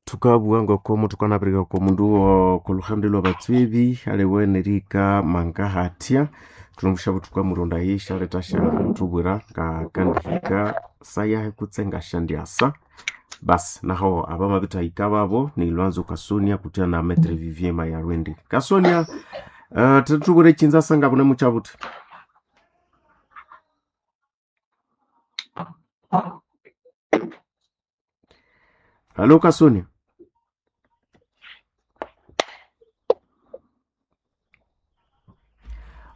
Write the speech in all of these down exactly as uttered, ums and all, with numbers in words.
Tukabugha ngoko tukanabirika oko mundu okoluhande lwabatswebi aliwe nerihika mangahathya thunomusyabu thukamulondayi syaletha syathubwira ngakandihika sayahi kutse ngasyandyasa. Basi naho abamabithahika babo ni Lwanzo Kasonia kutya na Maitre Vivien Mayarwendi. Kasonia, uh, thubwire ekyinza ngabune mukyabuthi. Halo Kasonia.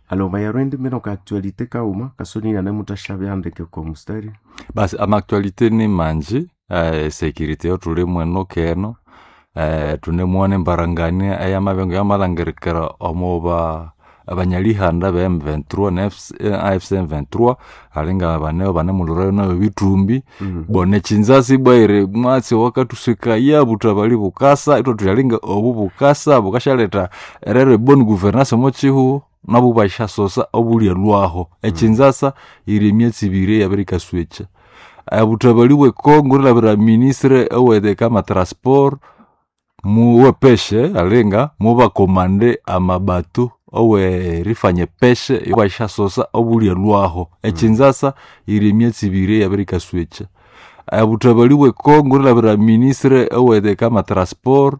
Alo Mayarwendi mino ka actualité kauma Kasonia nanemuthasyabyandike oko mustari. Basi ama-actualité ni manji eh, security yo thuli mweno keno eh, thunemwana embarangania eyamabengo yamalhangirikira omuba abanyalihanda be M twenty-three na A F C M twenty-three alinga baneo banemulhurayo nayo bithumbi Mm. bona ekyinzasi bwaire mwatsi wakathuswikaya buthabali bukasa ithwathuyalinga obu bukasa bukasyaletha erero ebonne gouvernance omo kihugho nabu basyasosa obulyalhwaho ekyinzasa yiri emyatsi ibiri eyabirikaswekya. Obuthabali bwe Congo erilhabira ministre owekama transport muwepeshe alinga mubakomande amabato owerifanya epeshe basyasosa obulyalhwaho ekyinzasa yiri emyatsi ibiri eyabirikaswekya. Obuthabali bwe Congo erilhabira ministre owekama transport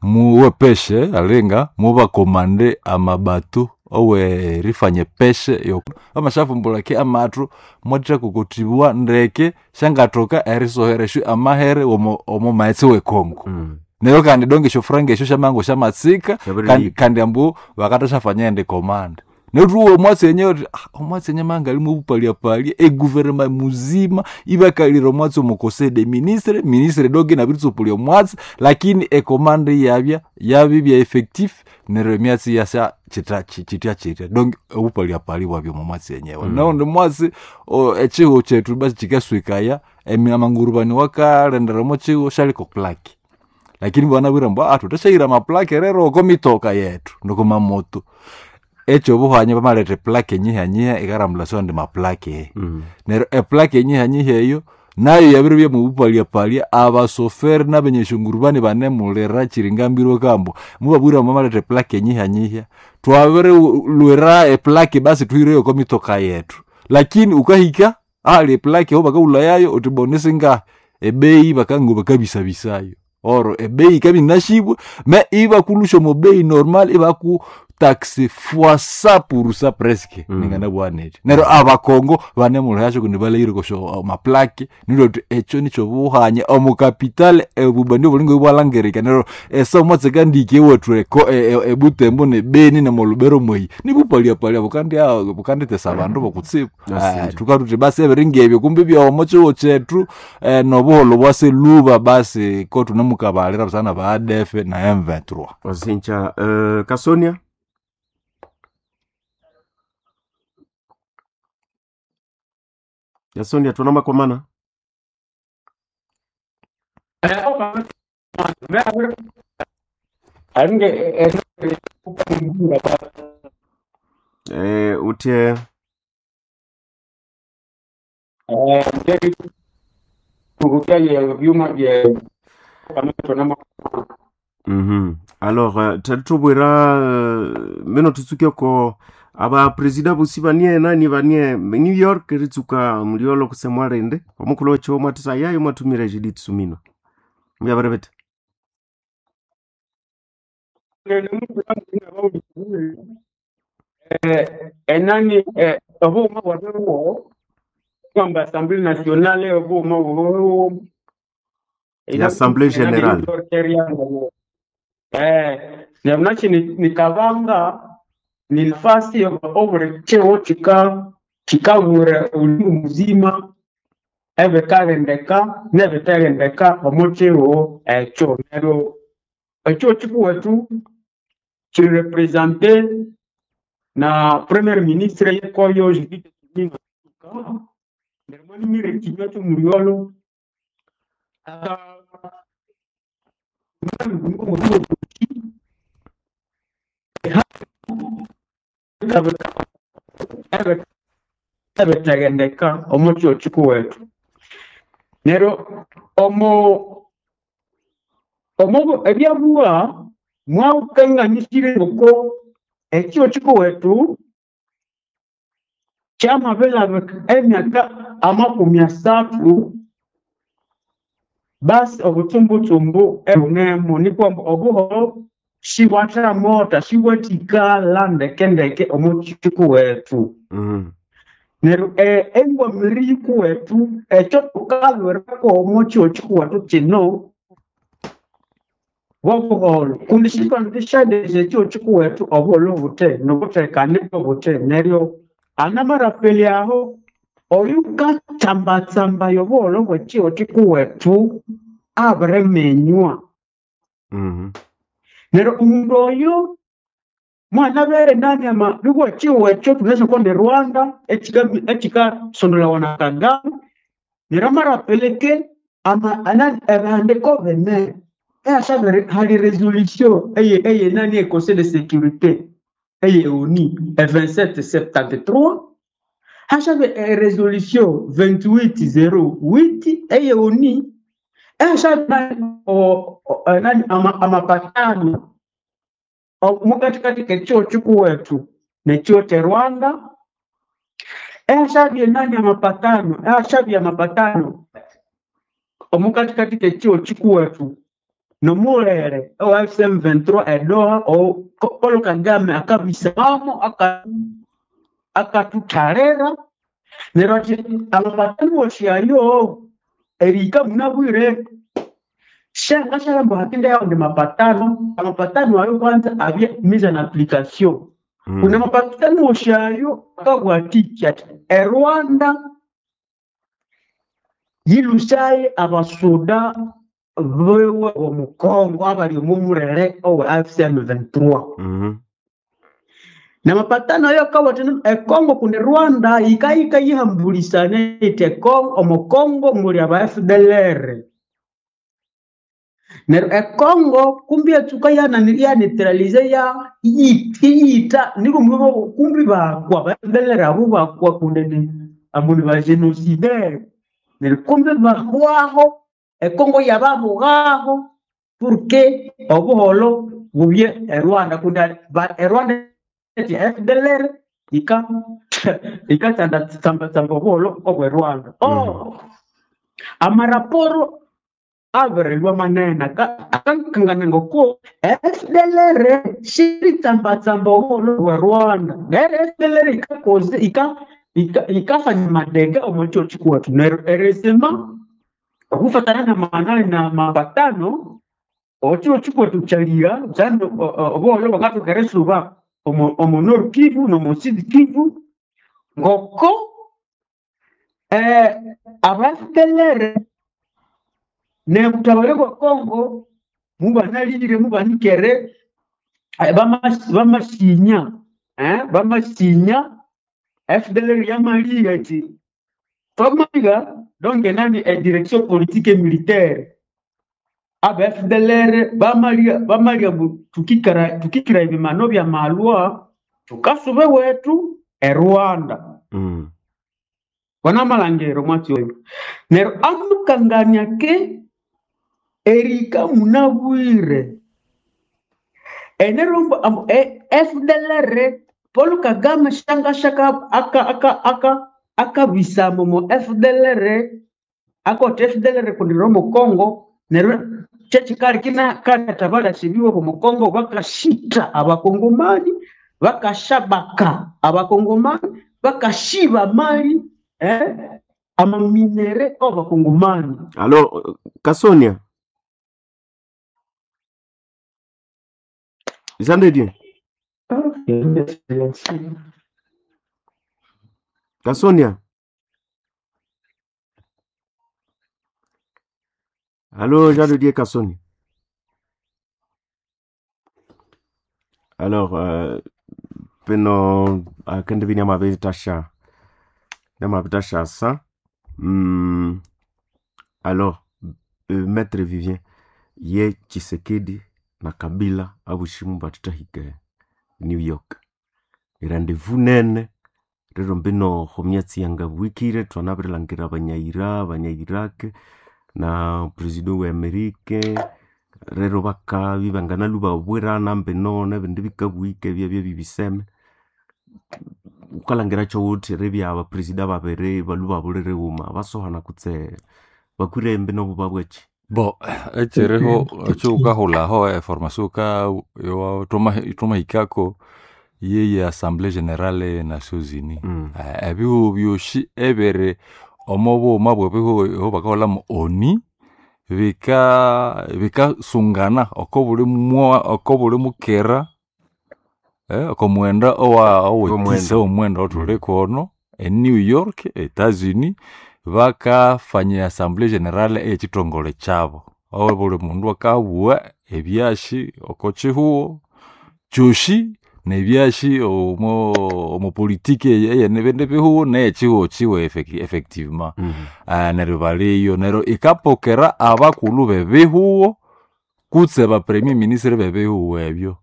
muwepeshe alinga mubakomande amabato owerifanya epeshe bamasyavumbulaki amathu mwathakokotibwa ndeke syangathoka erisohera amahere omo omo maghetse we Congo. Mm. Neryo kandi donge esyofuranga esyo syamango syamatsika kandi, Syabirihika. kandi ambu bakathasyafanya endi command. Neryo thuwa omwatsi enyewe thuthi ah, omwatsi enye mangalimu obupalyapalia eguvernema muzima ibakalira omwatsi omo conseil des ministres, ministre donge inabiritsupulia omwatsi lakini ecommand iyabya yabibya effectif neryo emyatsi iyasya kyitha kyitya kyitya donge obupalyapalia bwabya omo mwatsi enyewe. Mm. Naundi mwatsi o- ekihugho kyethu basi kyikaswikaya emi- amangurubani wakalendera omo kihugho syaliko plaque lakini banabwire ambu ah thuthasyaira amaplaque rero oko mitoka yethu noko mamoto ekyobuhwanya bamaletha eplaque enyihanyiha ikarambulasyo andi maplaque Mm. neryo eplaque enyihanyiha eyo nayo yabiribya mubupalyapalia abasoferi nabenyeshongurubani banemulira kiringambirwe kambu mubabwire ambu bamaletha eplaque enyihanyiha twabirilwira eplaque basi thuhireyo oko mitoka yethu lakini ukahika ahali eplaque aho bakahulhayayo uthi boni singahi ebeyi bakango bakabisabisayo oro ebeyi ikabya inashibwe me ibakulusha omo bei normal ibaku taxe fois cent pour cent presque Mm. ninganabugha nethi neryo abakongo banemulhayasyo kundi balhahire kosyo maplaque nilyo thuthi ekyo nikyobuhanya omu capital ebubandi obulinga ibwalhangirika neryo esa omwatsi kandiki ewethu eko- e- e- ebutembo nebeni nemolubero mweyi nibupalyapalia bukandya bukandithesa abandu bokutsibu. Nasinja. Thukathuthi basi ebiringa ebyo kumbi byomo kihugho kyethu eh, nobuholho bwaseluba basi ko thunemukabalira busana ba A D F na M twenty-three. Wasinja uh, Kasonia. Kasonia tunamakomana. Eh, uthye Mhm. Alors uh, thethubwira uh, mino thutsuke ko aba presida bosi banie nani banie New York ritsuka muliolo kusemwa rende omukhulu wekyo mwathisa yayo mwathumira Judith Sumino mubyabirebete. Enani obuuma bwabiriwo kwamba Assemblée nationale obuuma bwabiriwo Assemblée générale. Eh, neryo nikabanga ni nafasi obuli kihugho kika kikabura obulingo muzima ebikalendeka nebithalendeka omo kihugho ekyo. Neryo ekihugho kikuwethu kirepresente na premier ministre yekoyo Judith Suminwa neryo mwanimire ekinywa kyomuryolo ebitaghendeka omo kihugho kikuwethu. Neryo omo Omo ebyabua mwaukanganisire ngoko ekyo kikuwetu kyamabilabika emyaka amakumi asathu basi obutsumbutsumbu ebunemu nikwa obuhoro sibwathamota sibwathikala ndekendeke omo kikuwetu. Mm. Neryo eh, engwamiri yikuwethu ekyo thukalwirako omo kihugho kikuwethu kino bwobuholho kundi sithwandisyanzire ekihugho kikuwethu obuholho buthe nobuthekane obuthe neryo anamarapeli aho oyukatsambatsambaya obuholho bwekihugho kikuwethu abiriminywa. Mm. Neryo omundu oyo mwanabere nani ama nibwo ekihugho ekyo thunasi ni Rwanda ekika- ekikasondolawa na Kagame neryo amarapeleke ama anani ebihandiko bine ehasabiri hali resolution eye eye nani e conseil de sécurité eye ONU e vingt-sept septante-trois hashabe e resolution vingt-huit zéro huit eye ONU ehashabe nani o, o, nani ama, amapatano o- mukatikati kekihugho kikuwethu nekihugho kye Rwanda ehashabye nani amapatano ehashabye amapatano omukatikati kekihugho kikuwethu nomulere owa F M vingt-trois edoha o Paul Kagame akabisamo aka akatuthalira neryo athi amapatano wosi ayo erihika munabwire shangashalambo hakinde yao ndi mapatano amapatano ayo kwanza abye mise en application Mm. kuna mapatano wosi ayo akabwatiki ati eRwanda yilusaye abasuda bewe omukongo abali omu mulere owe F M vingt-trois Mm. namapatano ayo akawatha ekongo kundi Rwanda yikayika yihambulisana iti ekongo omukongo muli aba F D L R neryo ekongo kumbi yatsuka yanani yaneutralize ya iyita niko mwibo kumbi bakwa aba F D L R abo bakwa kundi ni ambu ni ba génocidaire neryo kumbi bahwaho ekongo yababughaho porque obuholo bubye eRwanda kundi ba- eRwanda eti F D L R ika ikatsamba obuholo obwe Rwanda. Mm. Oh, amaraporo abirilwa manene akakangana ngoko F D L R shiritsambatsamba obuholo bwe Rwanda neryo F D L R ikakoze ika ika ikafanya madega omu kihugho kikuwethu neryo erisima okufatana na manani na mapatano okihugho kikuwethu kyaliya kyandi obuholo bwangathoka erisuba omu omu Nord Kivu n'omu Sud Kivu ngoko eh, aba F D L R nebutabare bwa Congo mubanalire mubanikere eh, bamas- bamasinya eh, bamasinya F D L R yamaliga ati twamaliga donc nani e direction politique et militaire aba F D L R bamaliga bamaliga mbu tukikara tukikira ebimano bya malwa tukasube wetu e Rwanda Mm. wanamalangero mwatsi oyo neryo amukangania ke erika munabwire enerombo ambu e- F D L R Paul Kagame shangashaka aka aka aka akabisamo mo F D L R akoti F D L R kundi romo Congo neryo kyekikali kina katabalasibiwe omu Congo bakashita abakongomani bakashabaka abakongomani bakashiba mali eh, amaminere abakongomani. Alors, euh, Kasonia, Jean de Dieu, Kasonia. Allô, Jean de Dieu Kasonia. Alors, euh, peno akende bini amabitasha nyamabitasha sa mm, alors euh, maître Vivien ye Tshisekedi na Kabila abushimu batutahike New York rendez-vous nene rero mbino khomyatsi yanga bwikire twanabirilangirira abanyaira abanya-Iraq na president we Amerike Rero bakabi banganalu babwirana mbino nebindi bikabwika ebyabya bibiseme. Wukalhangira kyowuthi eribya abapresida babiri balhwe ibabulira ghuma basohana kutse bakwire embino bubabwaki? Bo ekyiriho ekyowukahulhaho eformation wuka yowa thwamahikako yeye Assemblée Générale e Nations Unies. Mm. Eh, ebihugho byosi ebiri omo bughuma bw'ebihugho eho bakahulhamu ONU bika bikasungana oko buli mwa oko buli mukera eh, oko mughenda owa owetisa Omughenda. omughenda othuli kono e New York, Etats Unis bakafanya Assemblée Générale ey'ekithongole kyabo. Aho buli mundu akabugha ebyasi oko kihugho kyosi nebyasi omo omo politiki ey'ebindi bihugho ney'ekihugho kiwe effec- effectivement. Mm. Ah, neryo baliyo neryo ikapokera abakulhu b'ebihugho kutse ba premier ministre b'ebihugho ebyo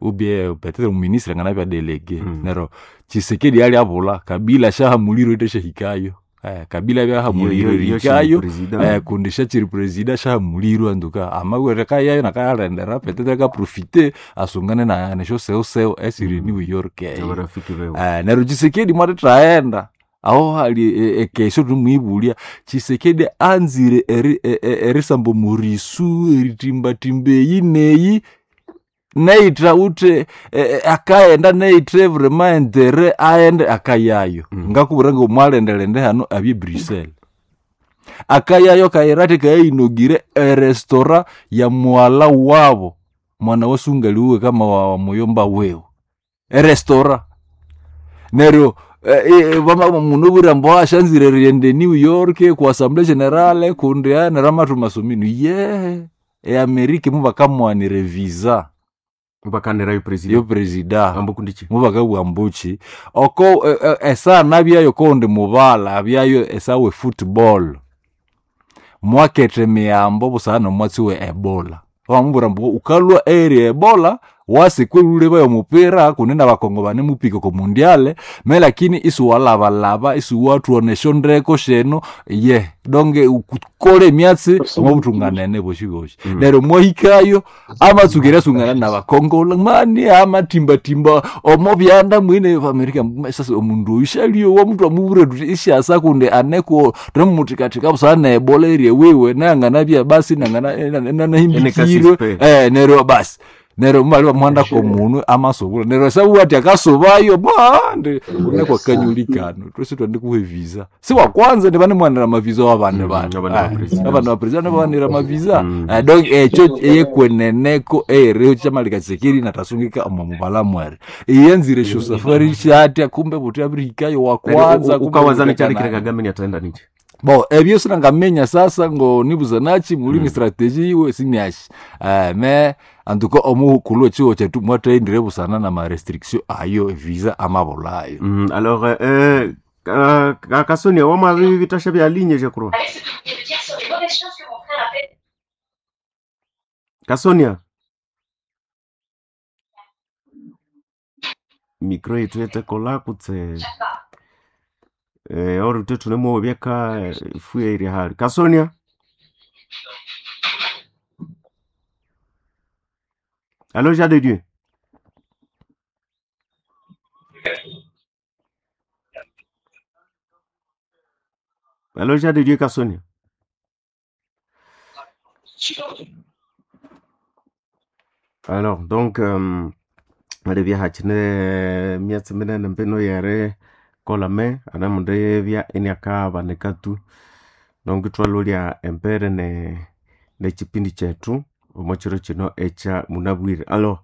ubye peut-être omuministre anganabya delege Mm. neryo Tshisekedi alyabulha Kabila syahamulirwe ithashahikayo eh, Kabila abyahamulirwe erihikayo eh, kundi syakyiri presida syahamulirwe antuka amabwere kayayo nakayalendera peut-être akaprofite asungane na nesyosewosewo esiri Mm. New York eyo Abarafiki bewe. Eh, neryo Tshisekedi mwathethaghenda aho hali e- ekesyo thumwibulya Tshisekedi anzire eri- e- e- erisamba omurisu eritimbatimba eyi neyi neitha uthe e- e- akaghenda neithe vraiment intere aghende akayayo Mm. ngakubwira ngomwalendelende hano abye Bruxelles akayayo kayira athi kayayinogire erestaurant ya mwala wabo mwana wasungali uwe kama wa, wa muyomba wewe erestaurant neryo eh, eh, vama- mundu obwira ambu asyanzire erighenda e New York ku Assemblée Générale kundi ah, neryo amathuma asominu yehe eAmerica mubakamuwanira evisa Bakanirayo presida. yo presida Ambu kundi ki? mubakabugha ambuki oko eh, eh, esaha nabyayo koundi mubala abyayo esaha e football mwaketha emiyambo busana nomwatsi we ebola bamubwira ambu wukalhwa eri ebola wasi kweluleba omupira kundi nabakongo banemupika oko mundiale me lakini isiwalabalaba isiwathuwana esyondeko syenu ye donge ukole emyatsi omwabuthunganene bosi bosi Mm. neryo mwahikayo amatsuka eryasungana nabakongola mani amatimbatimba omo byanda mwine amerika sasa omundu oyu syalyowa omundu amubwira thuthi isyasa kundi aneko thwemuthikathika busana nebola erye wiwe nanganabya basi nanganahimbikirwe Enekasispe. eh neryo basi neryo mubali bamuhandako omunwe amasubula neryo sabuwa ati akasubayo bandi uneko akanyulikano twesi twandikuha evisa si wakwanza ndivanemwanira amavisa wabandi Mm, bana abandi bapresident. abandi bapresident bawanira amavisa Mm. Eh, donc ekyo eyekweneneko eyeriho kyamalika Tshisekedi natasungika omo mubala mwere iyanzire esyo safari syatya kumbe buthi abirihikayo wakwanza kumbe Ukawazana buthekana. kyalekire Kagame ni ataenda ninje. Bo ebyo sinangamenya sasa ngo nibuzanachi mulini Mm. strategy iwe siniashi eh, me antuko omukulhu echiwo chetu mwathendire busana na ma restriction ayo visa amabulayo Mm, alors euh, ka- ka- Kasonia wamabi bitasha bya ligne je crois. Kasonia micro yetu yetekola kutse eh, ori uthe thunemuwa byeka ifuya iri hali Kasonia Allo Jean de Dieu Allo Jean de Dieu Kasonia Alors donc euh, alibya hakine myatsi minene mbino yere kolame anamundu yebya eniakabanika tu donc twalolya embere ne nekipindi kyethu omo kiro kino ekya munabwire alors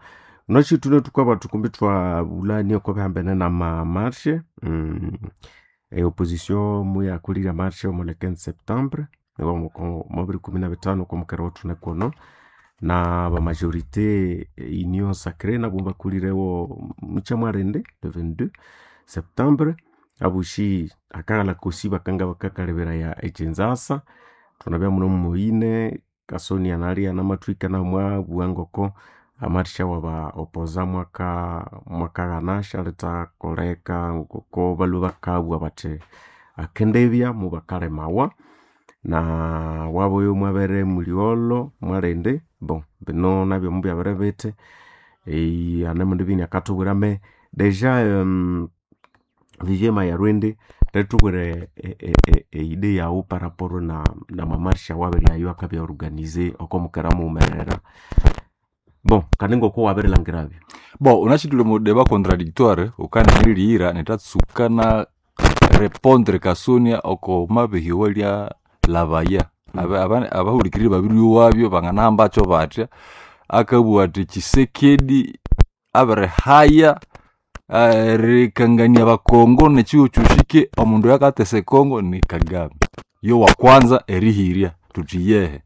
nokyithune thukwaba thukumbi twabulania oko bihambene nama marshe mm, e opposition muyakolire marshe omo le quinze septembre mwabiri kumi na bitano okwamukera wathune kuno na bamajorité union sacrée nabo bakulirewo mukyamwarende le vingt-deux septembre abushi akaghala kosi bakanga bakakalebera ekyinzasa thunabya muno mumuine Kasonia nalia namathwika namwabugha ngoko amarisha waba opoza mwaka mwakaghana syalithakoleka ngoko balhwe bakabugha bathi akendebya mubakalemawa na wabuyu mwabere muligholo mwalindi Bon bino nabyo mubyabere bithi eh, anemundu bini akatubwira me deja um, Vivie Mayarwende retubwire eide yawu par rapport na, na mamarsha wabere ayo akabya organize oko mukera muwumerera bon kandi ngoko wabirilangirabyo. Bon unachitule mu débat contradictoire ukanenelilihira netatsuka na répondre kasonia oko mabihiwa lya labaya. Aba- aba- abahulikiriri babiri wabyo banganahambakyo batya akabugha ati Tshisekedi abirihaya eh, erikangania abakongo nekiwo kyosi omundu oyukatesa ekongo ni Kagame yo wakwanza erihirya thuthi yehe.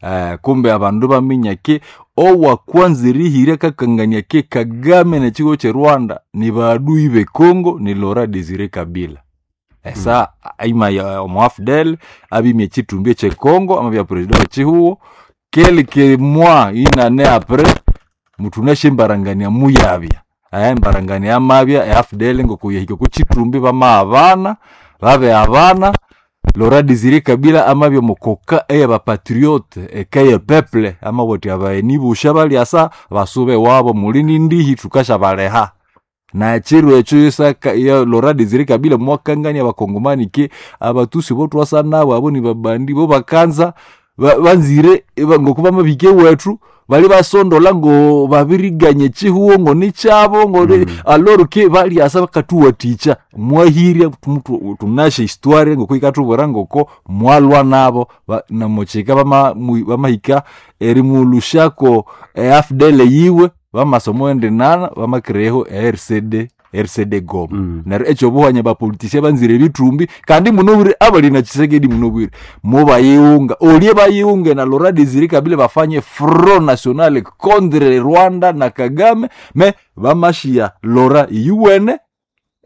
Eh, kumbe abandu baminya ki owakwanza erihirya akakangania ki Kagame nekiwo kye Rwanda ni baadui bekongo ni Laurent Desire Kabila esa aima ya omuafdel abimya ekitumbi ekyekongo amabya president wekihugho quelque mois inane après muthunasya embarangania muyabya eh, embarangania yamabya e A F D L ngokuyahika okukitumbi bamaghabana babe abana Laurent Desire Kabila amabya omukoka eyabapatriote eka ye peuple amabwira athi abagheni bosi abalyasa basube ewabo muli nindihi thukasyabaleka na ekiro ekyo isaka ya Laurent Desire Kabila mwakangania abakongomani ki abatusi bothwasa nabo abo nibabandi bo bakanza ba- banzire eba- ngoku bamabihika ewethu bali basondola ngo babiriganya ekihugho ngo nikyabo ngo mm. aloro ke balyasa bakathuwathikya mwahirya tumutu- tunasya histoire ngoko yikathubwira ngoko mwalwa nabo ba- namukyika bama- mu- bamahika erimulhusyako e A F D L yiwe bamasa omwendinana bamakireho e R C D R C D Goma Mm. neryo ekyobuhanya bapolitisia banzire ebithumbi kandi munobwire abali na Tshisekedi munobwire mubayighunga olye bayighunge na Laurent Desire Kabila bafanye front national contre Rwanda na Kagame me bamashiya Laurent iyuwene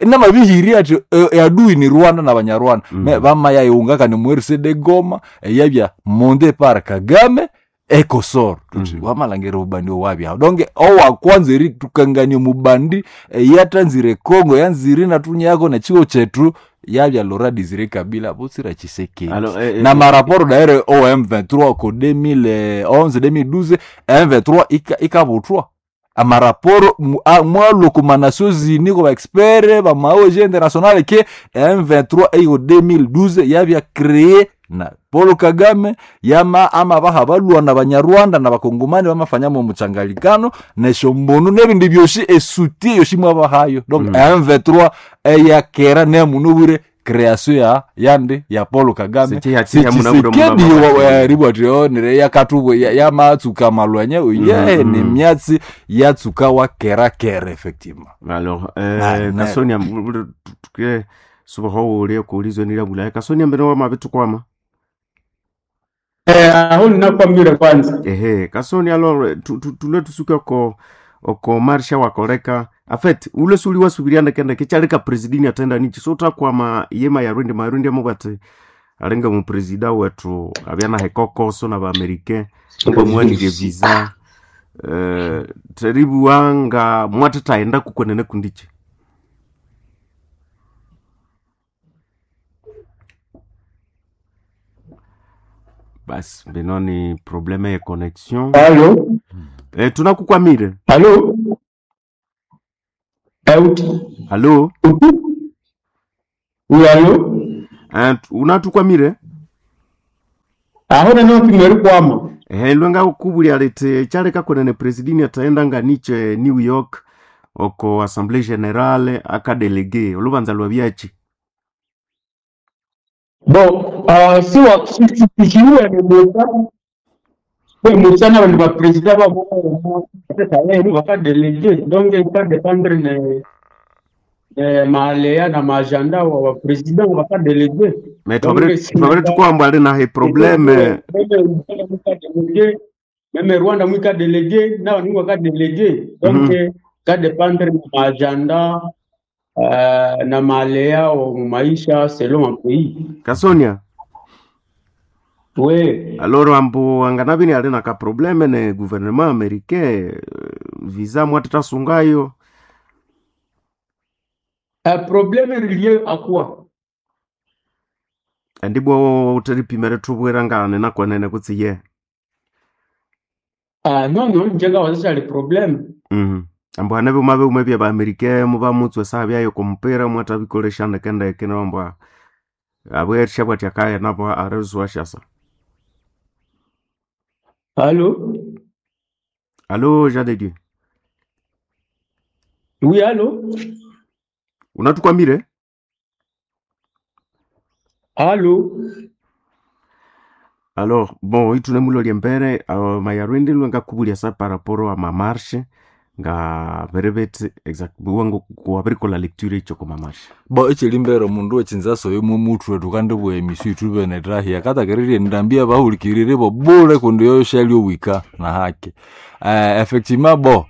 namabihirya athi e- adui ni Rwanda na Banyarwanda Mm. me bamayayighunga kandi mu R C D Goma eyabya monde par Kagame ekosoro tuthi Mm. wamalhangira obubandi owabyaho donke owakwanza eritukangania omubandi eyatanzire Congo yanzire inathunyako nekiwo kyethu yabya Laurent Desire Kabila butsira Tshisekedi Alors, eh, eh, na maraporo daire o M vingt-trois ko deux mille onze deux mille douze M vingt-trois ika- ikabuthwa amaraporo mu- a- mwalwa okwa Nations Unies kwa baexpert bama O N G international ke M vingt-trois eyo deux mille douze yabya créé na Paul Kagame yama ama baha balwa na Banyarwanda na Bakongomani bamafanyamo omuchangalikano nesyombunu nebindi byosi esuti yosi mwabahayo donc Mm. M vingt-trois eyakera nemunubwire création ya yandi ya Paul Kagame Sichi hachiya munabwire Tshisekedi muna- ribwa ati yakatubwe yamatsuka malwanya ye Mm, ni mm. myatsi yatsuka wa kera kera effectivement Alors, Na- eh, na- Kasonia tuke subaho ulie kuulizwe nila bulaya Kasonia mbere wa mabitukwama Eh, aho ninakwamire kwanza ehe Kasonia alors tu- tu- tule tusuke oko oko marsha wakoleka en fait ule suli wasubiriana kenda kechaleka presidini atenda nichi so takwama yema yarundi marundi amubwate alenga mu presida wetu abyana hekokoso na baamerikain mbamwanire visa eh, teribuwanga mwatataenda kukwenene kundiche basi bino ni probleme ye connexion halo eh, tunakukwamire halo Eh, uti halo uti uyu halo Eh, unatukwamire aho nanopimweri kwama ehe lwenga kubulya liti kyaleka kwenene presidini ataenda nga niche New York oko assemblée générale akadelege olubanza lwa byachi bo uh, siwa sikiwe musa we musa na bantu bapresida babo lero bakadelege donc ikadependre ne ne maaleya na maagenda wa bapresident bakadelege me donc twabere twabere tukwamba ali nahe probleme meme meme Rwanda mwika delege na bantu bakadelege donc Mhm. kadependre na maagenda uh, na maaleya wa mu maisha selon ma pays Kasonia we aloro ambu anganabini ali na kaprobleme ne gouvernement américain eh, visa mwatatasungayo Un problème relié à quoi? andibwo uteripimere tubwira ngane nakwenene kutsi ye Ah, non non njenga wazishali problème. Mhm. Ambu hane byuma byuma bya baamerika mubamutswa esaha byayo kumupira mwathabikolesya ndeke ndeke nambwa abwerisya bwati akaya nabo arizuwa syasa. Allô? Allô Jean de Dieu. Oui, allô? Unatukwamire? Allô? Alors bon ithune embere uh, mayarwende lwe sa par rapport a mamarche nga berebetse exact buwango kuwabirikola lecture icho kwa mamarche. Bo ekiri mbere omundu w'ekinzaso yomu muthwe tukandibwa emisi ithubene tahia katakererye ndambia bahulikirire bo bule kundi yoyo syali owika na haki eh, effectivement bo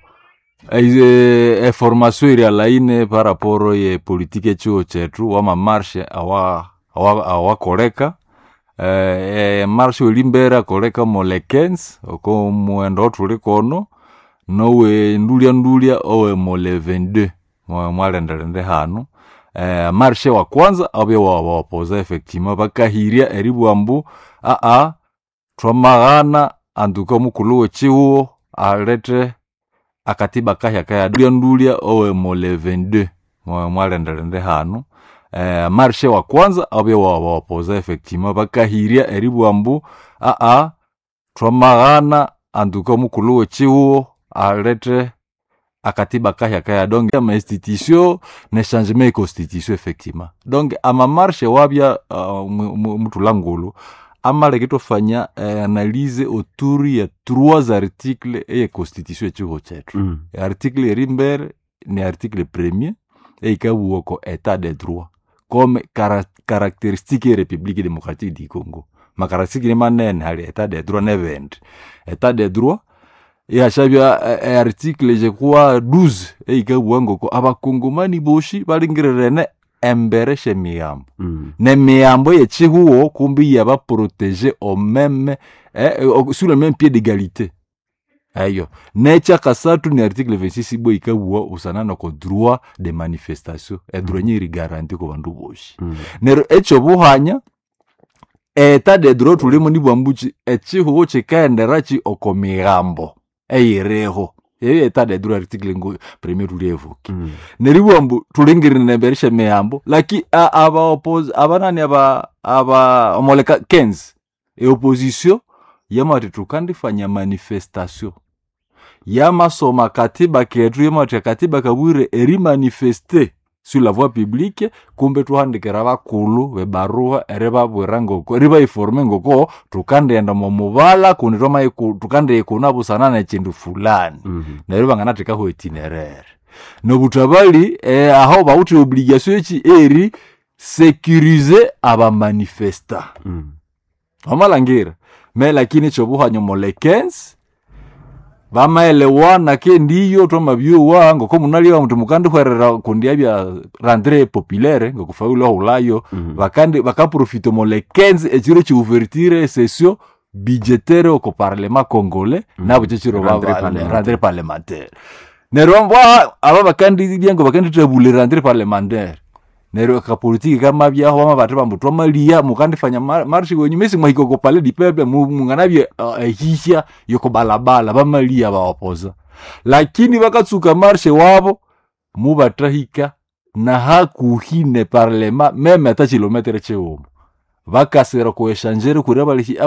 eh, eformation iri alaine par rapport ye politique echiwo chetu wamamarshe awa awa- awakoleka eh, eh, marshe welimbere akoleka mo le quinze oko muwendo othuli kono nowe ndulya ndulya owe mo le vingt-deux mwa- mwalendelende hanu eh, marshe wa kwanza abye wabawapoza effectivement bakahirya eribwa mbu aa twamaghana anduka omukulhu w'ekihuho alete akatiba kahya kaya ndulya ndulya owe mo le vingt-deux mwa- mwalendelende hanu eh, marshe wa kwanza abye wabawapoza effectivement bakahirya eribwa mbu aa twamaghana anduka omukulhu w'ekihuho alete akatiba kahya kaya donc ama institution ne changement e constitution effectivement donc ama marche wabya uh, mutulangulu amaleke tofanya eh, analyse autour ya trois articles eye constitution echiho chetu Mm. article erimbere ni article premier eikabuwa ko état de droit comme cara caractéristique ye république démocratique du Congo macaractéristique ni manene hali état de droit nebindi état de droit yashabya eh, eh, article je crois douze eikabuwa ngoko abakongomani boshi balingirerene embere shemiyambo Mm. nemiyambo yechihuo kumbi yabaprotege au même eh, au- sur le même pied d'égalité eyo nekyakasathu ni article vingt-six ibwa ikabuwa usanana ko droit de manifestation edroit mm. nyiri garanti ku bandu boshi Mm. neryo ekyobuhanya eta de droit tulimo nibwambuki ekihugo kikaenderaki oko migambo eyiriho eyo eta de droit article ngo premier tulievuki Mm. neribwa mbu tulingirire embere mihambo laki a- aba oppose abanani aba aba omoleka quinze eopposition yamati tukandifanya manifestation yamasoma katiba ketu yamati akatiba kabwire erimanifeste sur la voie publique kumbe tuhandikira bakulu bebaruha eribabwira ngoko eribaiforme ngoko tukandienda mumubala kundi twamaiku- tukandiikuna busana nekindu fulani Mm. neryo banganathekaho itinerere nobutabali eh, aho bawuthe obligation eki eri sécuriser abamanifesta Mm. wamalhangira me lakini ekyobuhanya omo le quinze bamaelewana kendiyo twamabyowa ngoko munalyowa muti mukandihwerera kundi abya rentrée populaire ngokufaulu ahulayo Mm. bakandi bakaprofita omo le quinze ekiro kyouverture esession budgétaire oko parlement congolais Mm. nabo kyekiro Rentrée parlementaire. rentrée parlementaire neryo mbwa aba bakandilya ngo bakandithabula rentrée parlementaire neryo akapolitiki kamabyaho bama bathi bambu twamaliya mukandifanya mar- marshi wenyu mesi mwahika oko palais du peuple mu- munganabye uh, ehihya yokobalabala bamaliya bawapoza lakini bakatsuka marshe wabo mubathahika na hakuhi ne parlema meme ata kilometere chiwuma bakasira kueshanjere kuri abalihi